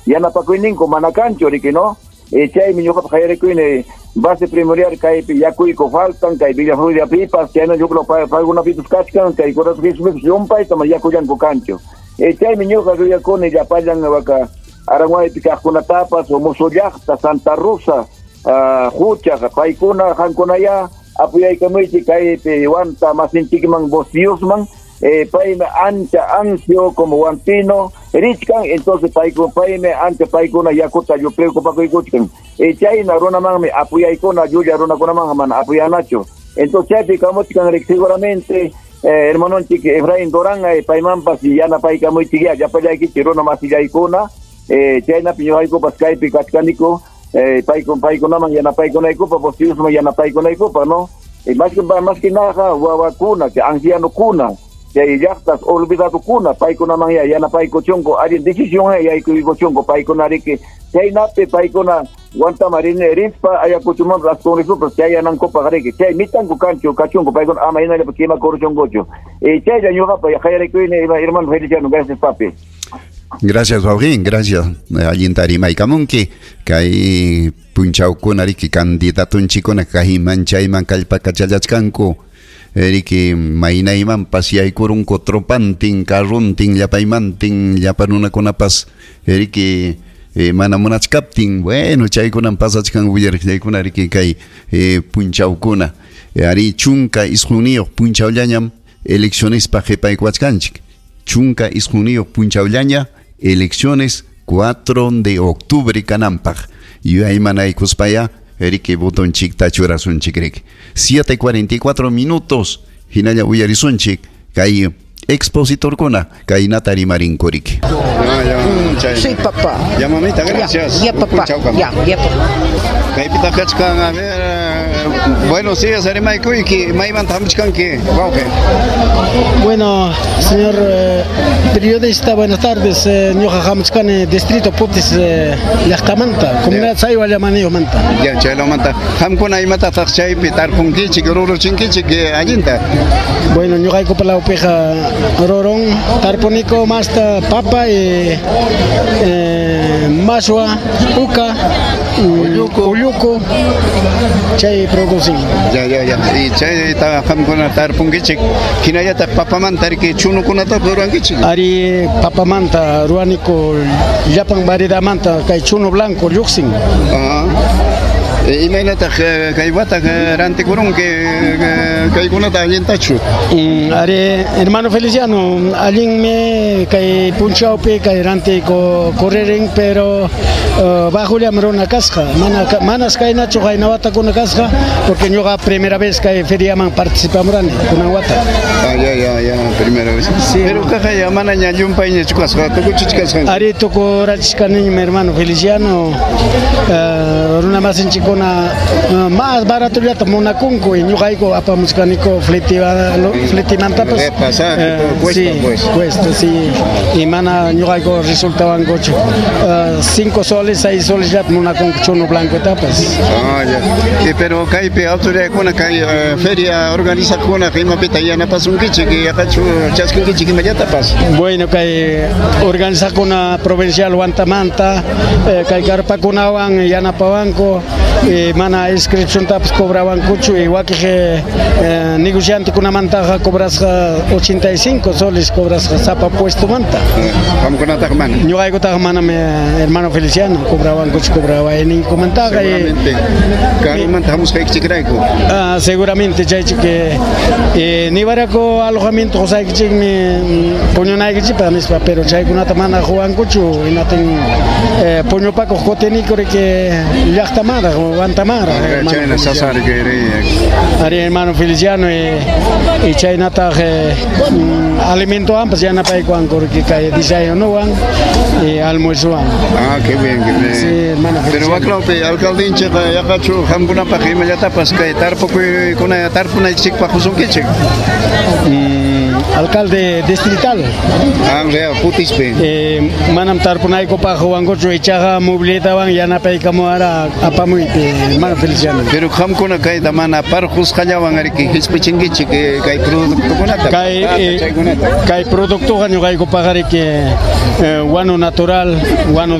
Yanapakuyninku mana kanchu riki, no? Chaymi ñuqapaq qayarikuyni base primordial kaypi yakuyku faltan kay Villa Floridapipas, chayna huk paykunapipas kachkan, kay Corazón llumpayta mana yakullanku kanchu. Chaymi ñuqa ruyakuni llapallan waka Aranguaypi kaqkunatapas, Musu llaqta, Santa Rosa, Huchaqa, paykuna qankunaya apuyaykamuychik kaypi Huanta masinchikman Bosiusman, paymi ancha ansio como huantino richkan, entonces paymi ancha paykuna yakuta preocupakuykuchkan. Chayna runamanmi apuyaykuna, llulla runakunaman mana apuyanachu. Entonces chaypi kamuchkan seguramente hermanonchik Efraín Durán, paymanpas yanapaykamuychik ya llapallaykichik runa masillaykuna, chaynapi ñuqaykupas kaypi kachkaniku, paykunaman yanapaykunaykupa, Bosiusman yanapaykunaykupa, no? Más que nada wawakuna, ancianokuna, chay llaqtas olvidadokuna, paykunaman ya yanapaykuchunku, allin decisión yaykuykuchunku paykunariki, chaynapi paykuna Huantama rispa Ayacuchoman Congresopas chayanankupaq riki, chay mitanku kanchu kachunku paykuna ama hinallapa kimakuruchunkuchu. Chaylla ñuqapa qayarikuyni, hermano Feliciano, gracias papi. Gracias, wawqin, gracias. Allinta rimaykamunki. Kay punchawkuna riki candidatunchikuna kayman chayman kallpakachallachkanku. Riki maynaymanpas yaykurunku tropantin, carruntin, llapaymantin, llapa runakunapas riki mana munachkaptin, bueno, chaykunan pasachkan willariqllaykuna riki kay punchawkuna. Ari 19 punchawllañam eleccionespa qhipaykuwachkanchik. 19 punchawllaña elecciones 4 de octubre kananpaq. Yuyaymanaykuspaya riki botonchikta churasunchik riki. 7:44 minutos hinalla uyarisunchik kay expositorkuna kaynata rimarinku riki. Sí, papá. Ya, mamita, gracias. Ya, papá. Ya, ya, papá. Kaypita kachkan, a ver, buenos días, rimaykuyki, maymanta hamuchkanki, wawqi. Bueno, señor periodista, buenas tardes. Ñuqa hamuchkani distrito Putis llaqtamanta, comunidad Saywa llamaniyuqmanta. Ya, chaylawmanta. Qamkuna imatataq chaypi tarpunkichik, ruruchinkichik allinta? Bueno, ñuqaykupa lawpiqa rurun, tarpuniku masta papa y mashwa, uka, ulluku, chay producen. Ya, ya, ya. Y chayta qamkuna tarpunkichik, hinallataq papamanta riki chunukunata rurankichik. Ari papamanta ruaniku llapan variedadmanta kay chuno blanco lluqsin. Ajá. Imaynataq kay wata rantikurunki kaykunata allintachu? Ari hermano Feliciano, allinmi kay punchawpi kay rantiku correrin, pero bajullam runa kasqa, manas kaynachu qayna watakuna kasqa, porque ñuqa primera vez kay feriaman participamurani kunan wata. Ah, ya, ya, ya, primera vez. Sí. Pero kaqaya manaña llumpayñachu kasqa, tukuchichkasqanki. Ari tukurachishkaniñmi hermano Feliciano, runa masinchikuna más baratollata munakunku y ñuqayku apamuchkaniku fletimantapas. Pasaje, todo cuesta, sí, pues. Cuesta, sí. Y mana ñuqayku resultabankuchu 5 soles, 6 soles ya munakunku chuno blanco tapas. Ah, ya. Pero kaypi autoridadkuna kay feria organizaqkuna imapita yanapasunkichik, yaqachu chaskinkichik imallatapas. Bueno, kay organizaqkuna provincial Huantamanta, kay karpakunawan yanapawanku, mana inscripción tapas cobrabankuchu y wakiq negociantekunamantaqa cobrasqa 85 soles cobrasqa sapa puestomanta. Qamkunataqa mana. Ñuqaykutaqa manam, hermano Feliciano, cobrabankuchu, cobrabaininkumantaqa. Seguramente. Karumanta hamusqaykichikrayku. Ah, seguramente chaychik niwaraku alojamiento qusaykichikmi puñunaykichikpaq nispa, pero chaykunata mana quwankuchu, hinatin puñupakuq kutiniku riki llaqtamanraq, Huantamanraq, hermano Chayna Feliciano. sasari kay Ari hermano Feliciano y chaynataq alimentowanpas yanapaykuwanku riki kay desayunowan y almuerzowan. Ah, qué bien, qué bien. Sí, hermano Pero Feliciano. waklawpi alcaldinchikqa yaqachu qamkunapaq imallatapas kay tarpukuykuna tarpunaykichikpaq qusunkichik. alcalde distrital. Ah, Putispi. Manam tarpunaykupaq wankuchu, ichaqa mobilitawan yanapaykamuwara apamuypi, hermano Feliciano. Pero qamkuna kayta mana parqusqallawan ariki hispichinkichik kay productokunata. Kay, kay productoqa ñuqaykupaq ariki wanu natural, wanu.